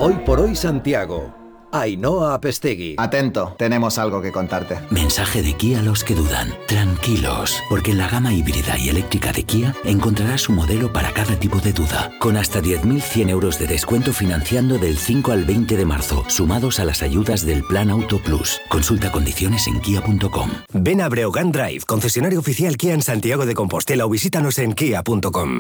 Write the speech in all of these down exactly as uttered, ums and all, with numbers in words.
Hoy por hoy Santiago. Ainhoa Apestegui. Atento, tenemos algo que contarte. Mensaje de Kia a los que dudan. Tranquilos, porque en la gama híbrida y eléctrica de Kia encontrarás un modelo para cada tipo de duda, con hasta diez mil cien euros de descuento financiando del cinco al veinte de marzo, sumados a las ayudas del Plan Auto Plus. Consulta condiciones en kia punto com. Ven a Breogán Drive, concesionario oficial Kia en Santiago de Compostela, o visítanos en kia punto com.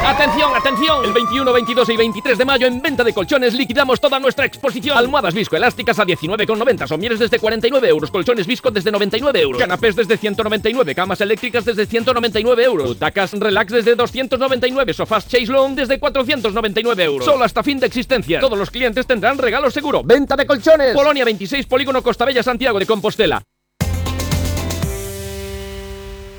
¡Atención, atención! El veintiuno, veintidós y veintitrés de mayo en Venta de Colchones liquidamos toda nuestra exposición. Almohadas viscoelásticas a diecinueve con noventa, somieres desde cuarenta y nueve euros, colchones visco desde noventa y nueve euros, canapés desde ciento noventa y nueve, camas eléctricas desde ciento noventa y nueve euros, butacas relax desde doscientos noventa y nueve, sofás Chase Long desde cuatrocientos noventa y nueve euros. Solo hasta fin de existencia. Todos los clientes tendrán regalo seguro. Venta de Colchones. Polonia veintiséis, Polígono Costabella, Santiago de Compostela.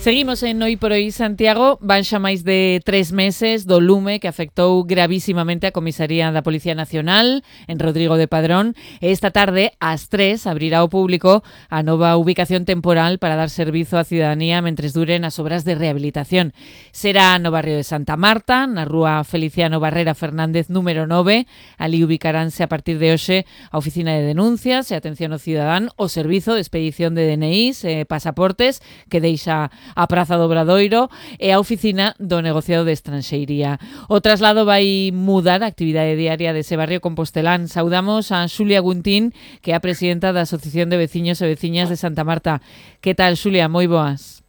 Seguimos en Hoy por Hoy Santiago. Van xa máis de tres meses do lume que afectou gravísimamente a comisaría da Policía Nacional en Rodrigo de Padrón. E esta tarde, ás tres, abrirá ao público a nova ubicación temporal para dar servizo á ciudadanía mentres duren as obras de rehabilitación. Será no barrio de Santa Marta, na rúa Feliciano Barrera Fernández número nove. Ali ubicaránse a partir de hoxe a oficina de denuncias e atención ao cidadán, o servizo de expedición de D N Is e pasaportes que deixa a Praza do Obradoiro e a oficina do negociado de estranxeiría. O traslado vai mudar a actividade diaria dese barrio compostelán. Saudamos a Xulia Guntín, que é a presidenta da Asociación de Veciños e Veciñas de Santa Marta. Que tal, Xulia? Moi boas.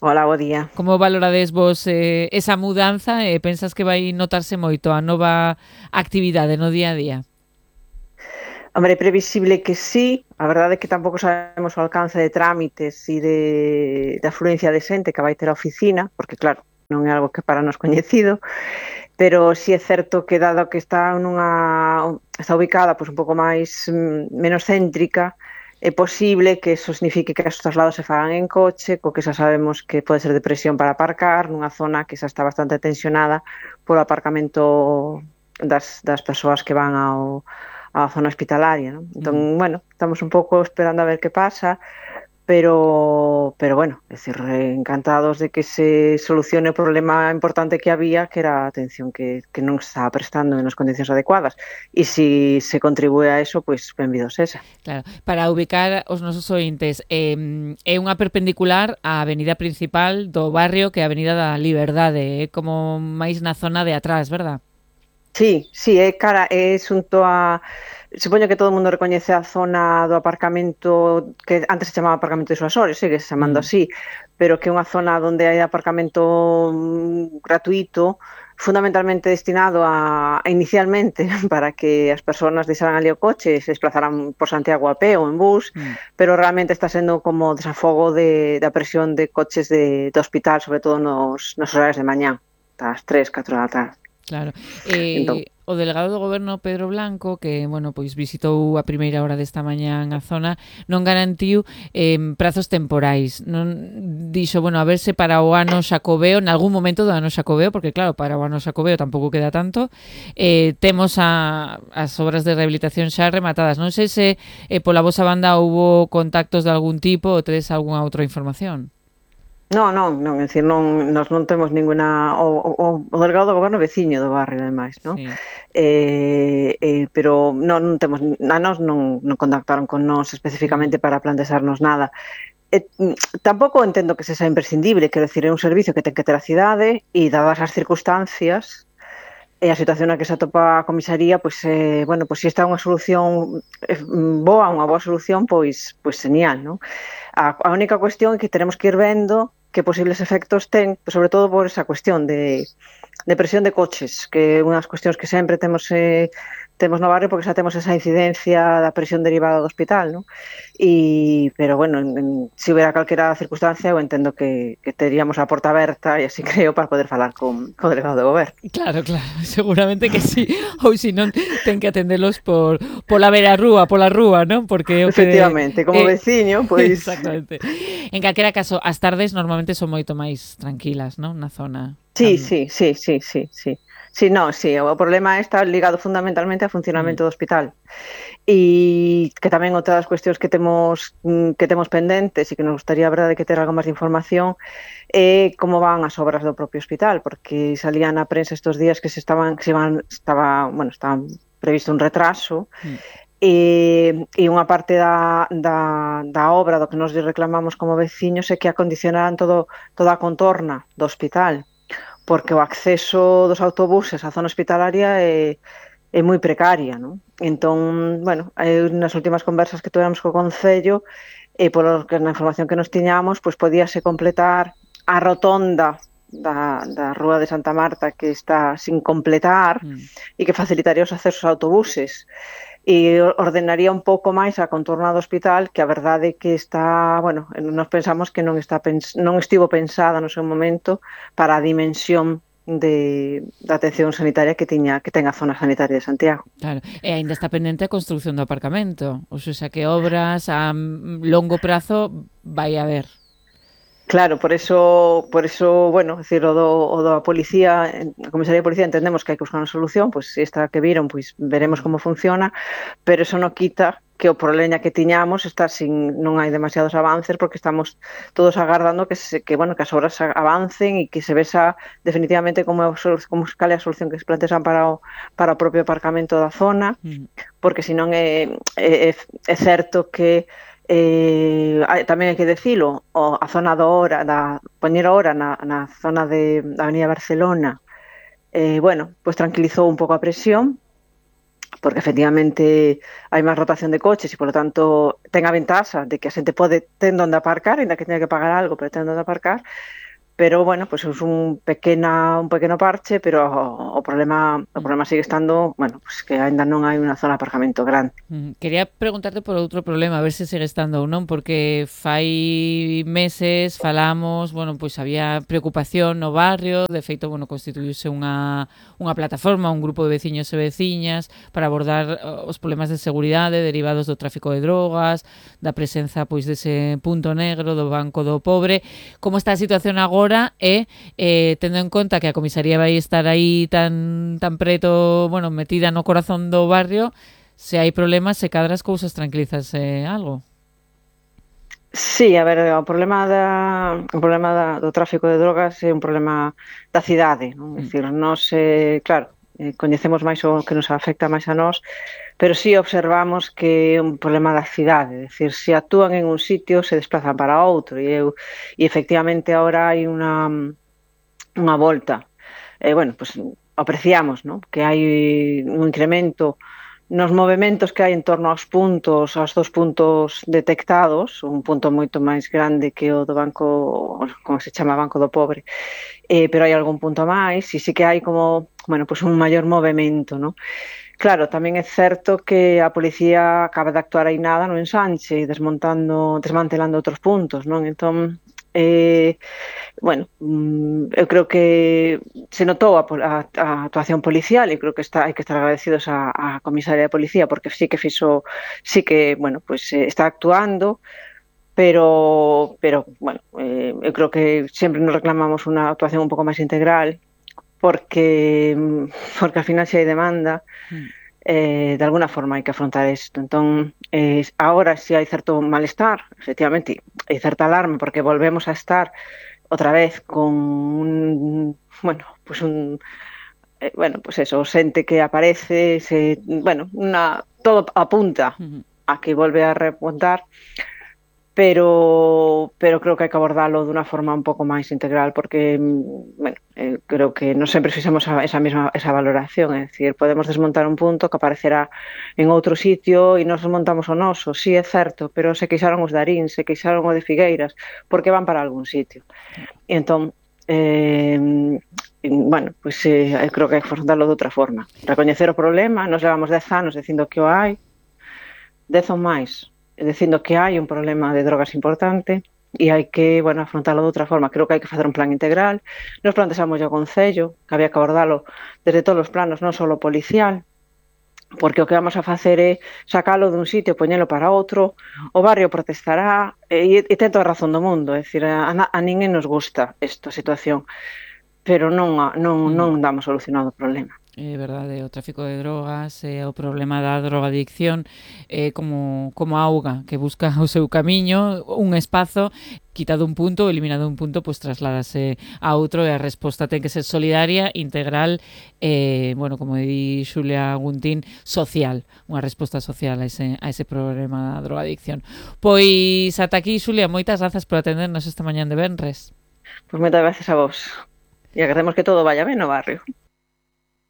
Hola, bo día. Como valorades vos eh, esa mudanza e pensas que vai notarse moito a nova actividade no día a día? Hombre, é previsible que sí. A verdade é que tampouco sabemos o alcance de trámites e de, de afluencia de xente que vai ter a oficina, porque claro, non é algo que para nos coñecido, pero sí é certo que dado que está nunha está ubicada pois un pouco máis menos céntrica, é posible que eso signifique que os traslados se fagan en coche, co que xa sabemos que pode ser de presión para aparcar nunha zona que xa está bastante tensionada polo aparcamento das, das persoas que van ao a zona hospitalaria, ¿no? Entón, mm. bueno, estamos un pouco esperando a ver que pasa, pero, pero bueno, es decir, encantados de que se solucione o problema importante que había, que era a atención que, que non se estaba prestando en as condicións adecuadas. E se se contribúe a eso, pois, pues, benvidos esa. Claro, para ubicar os nosos ointes, eh, é unha perpendicular á avenida principal do barrio, que é a Avenida da Liberdade, é como máis na zona de atrás, verdad? Sí, sí, é cara, é xunto a... Supoño que todo o mundo recoñece a zona do aparcamento, que antes se chamaba aparcamento de Suasores, sigue se chamando mm. así, pero que é unha zona onde hai aparcamento gratuito, fundamentalmente destinado a, a inicialmente para que as persoas deixaran ali o coche e se desplazaran por Santiago a pé ou en bus, mm. pero realmente está sendo como desafogo de, da presión de coches de, de hospital, sobre todo nos, nos horarios de mañá, das tres, catro da tarde. Claro. Eh, entón, o delegado do goberno Pedro Blanco, que, bueno, pois visitou a primeira hora desta mañá a zona, non garantiu eh, prazos temporais. Non dixo, bueno, a verse para o ano xacobeo, en algún momento do ano xacobeo, porque claro, para o ano xacobeo tampouco queda tanto. Eh, temos a, as obras de rehabilitación xa rematadas. Non sei se eh, pola vosa banda houbo contactos de algún tipo ou tedes algunha outra información. Non, non, non, é dicir, non, nos non temos ninguna... O, o, o delegado do goberno veciño do barrio, ademais, non? Sí. Eh, eh, pero non, non temos... A nos non, non contactaron con nós especificamente para plantexarnos nada. Eh, tampouco entendo que se xa imprescindible, quero dicir, é un servicio que ten que ter a cidade e dadas as circunstancias e a situación na que se atopa a comisaría, pois, eh, bueno, pois se está unha solución eh, boa, unha boa solución, pois, pois genial, non? A, a única cuestión é que teremos que ir vendo que posibles efectos ten, sobre todo por esa cuestión de, de presión de coches, que é unha das cuestións que sempre temos eh, temos no barrio, porque xa temos esa incidencia da presión derivada do hospital, non? E, pero, bueno, en, en, se houbera calquera circunstancia, eu entendo que, que teríamos a porta aberta, e así creo, para poder falar con, con o delegado do goberno. Claro, claro, seguramente que sí, ou se non, ten que atendelos por pola vera rúa, pola rúa, non? Porque o que efectivamente, como eh, veciño, pois... Exactamente. En calquera caso, as tardes normalmente son moito máis tranquilas, non? Na zona. Sí, sí, sí, sí, sí, sí. Sí, no, sí, o problema está ligado fundamentalmente ao funcionamento mm. do hospital. E que tamén outra das cuestións que temos que temos pendentes e que nos gustaría, a verdade, que ter algo máis de información é como van as obras do propio hospital, porque salían na prensa estes días que se estaban que se iban estaba, bueno, estaban previsto un retraso, Mm. e, e unha parte da, da, da obra do que nos reclamamos como veciños é que acondicionaran todo, toda a contorna do hospital, porque o acceso dos autobuses á zona hospitalaria é, é moi precaria, non? Entón, bueno, eu, nas últimas conversas que tivemos co Concello, e polo que na información que nos tiñamos, pois podíase completar a rotonda da, da Rúa de Santa Marta que está sin completar mm. e que facilitaría os accesos a autobuses e ordenaría un pouco máis a contorna do hospital, que a verdade é que está, bueno, nos pensamos que non está pens non estivo pensada no seu momento para a dimensión de da atención sanitaria que tiña que ten a zona sanitaria de Santiago. Claro, e aínda está pendente a construción do aparcamento, ou seja, que obras a longo prazo vai haber. Claro, por eso, por eso, bueno, decir, o do, o da policía, a comisaría de policía entendemos que hai que buscar unha solución, pois pues, esta que viron, pois pues, veremos como funciona, pero eso non quita que o problema que tiñamos está sin, non hai demasiados avances porque estamos todos agardando que se, que bueno, que as obras avancen e que se vesa definitivamente como como cal é a solución que se plantexan para o para o propio aparcamento da zona, porque senón é é, é certo que Eh, tamén hai que decilo, o, a zona do hora, da poñer hora na, na zona de, da Avenida Barcelona, eh, bueno, pois pues tranquilizou un pouco a presión, porque efectivamente hai máis rotación de coches e, polo tanto, ten a ventaxa de que a xente pode ten onde aparcar, ainda que teña que pagar algo, pero ten onde aparcar. Pero, bueno, pues é un pequena un pequeno parche, pero o, o problema o problema sigue estando, bueno, pues que aínda non hai unha zona de aparcamento grande. Mm, quería preguntarte por outro problema, a ver se sigue estando ou non, porque fai meses falamos, bueno, pois pues había preocupación no barrio, de feito, bueno, constituíuse unha unha plataforma, un grupo de veciños e veciñas para abordar os problemas de seguridade derivados do tráfico de drogas, da presenza pois dese punto negro do Banco do Pobre. Como está a situación agora? E eh, tendo en conta que a comisaría vai estar aí tan tan preto, bueno, metida no corazón do barrio, se hai problemas, se cadra as cousas tranquilízase algo. Sí, a ver, o problema da o problema da, do tráfico de drogas é un problema da cidade, non? É dicir, nós, eh, claro, eh, coñecemos máis o que nos afecta máis a nós, pero sí observamos que é un problema da cidade, é dicir, se actúan en un sitio se desplazan para outro, e, eu, e efectivamente agora hai unha unha volta, eh, bueno, pues apreciamos, ¿no?, que hai un incremento nos movementos que hai en torno aos puntos, aos dos puntos detectados, un punto moito máis grande que o do Banco, como se chama, Banco do Pobre, eh, pero hai algún punto máis, e sí que hai como, bueno, pues un maior movemento, ¿no? Claro, tamén é certo que a policía acaba de actuar aí nada no ensanche, desmontando, desmantelando outros puntos, non? Entón, eh, bueno, eu creo que se notou a, a, a actuación policial e creo que está, hai que estar agradecidos a, a comisaria de policía porque sí que fixo, sí que, bueno, pues eh, está actuando, pero, pero bueno, eh, eu creo que sempre nos reclamamos unha actuación un pouco máis integral, porque porque al final se hai demanda, eh, de alguna forma hai que afrontar isto. Entón, eh, agora se hai certo malestar, efectivamente, hai certa alarma, porque volvemos a estar outra vez con un, bueno, pues un, eh, bueno, pues eso, xente que aparece, se, bueno, una, todo apunta a que volve a repuntar, pero pero creo que hai que abordalo dunha forma un pouco máis integral porque, bueno, eh, creo que non sempre fixemos esa mesma esa valoración, é dicir, podemos desmontar un punto que aparecerá en outro sitio e nos desmontamos o noso, sí, é certo, pero se queixaron os de Arín, se queixaron o de Figueiras, porque van para algún sitio. E entón, eh, bueno, pois pues, eh, creo que hai que afrontarlo de outra forma. Recoñecer o problema, nos levamos dez anos dicindo que o hai, dez ou máis, dicindo que hai un problema de drogas importante e hai que, bueno, afrontarlo de outra forma. Creo que hai que facer un plan integral. Nos plantexamos ao Concello que había que abordalo desde todos os planos, non só o policial, porque o que vamos a facer é sacalo dun sitio, poñelo para outro, o barrio protestará, e, e ten toda a razón do mundo, é dicir, a, a ninguén nos gusta esta situación, pero non, non, non damos solucionado o problema. é verdade, o tráfico de drogas, e o problema da drogadicción é como, como a auga que busca o seu camiño, un espazo, quitado un punto, eliminado un punto, pois pues, trasládase a outro e a resposta ten que ser solidaria, integral, e, bueno, como di Xulia Guntín, social, unha resposta social a ese, a ese problema da drogadicción. Pois ata aquí, Xulia, moitas grazas por atendernos esta mañán de venres. Pois moitas gracias a vos. E agradecemos que todo vaya ben no barrio.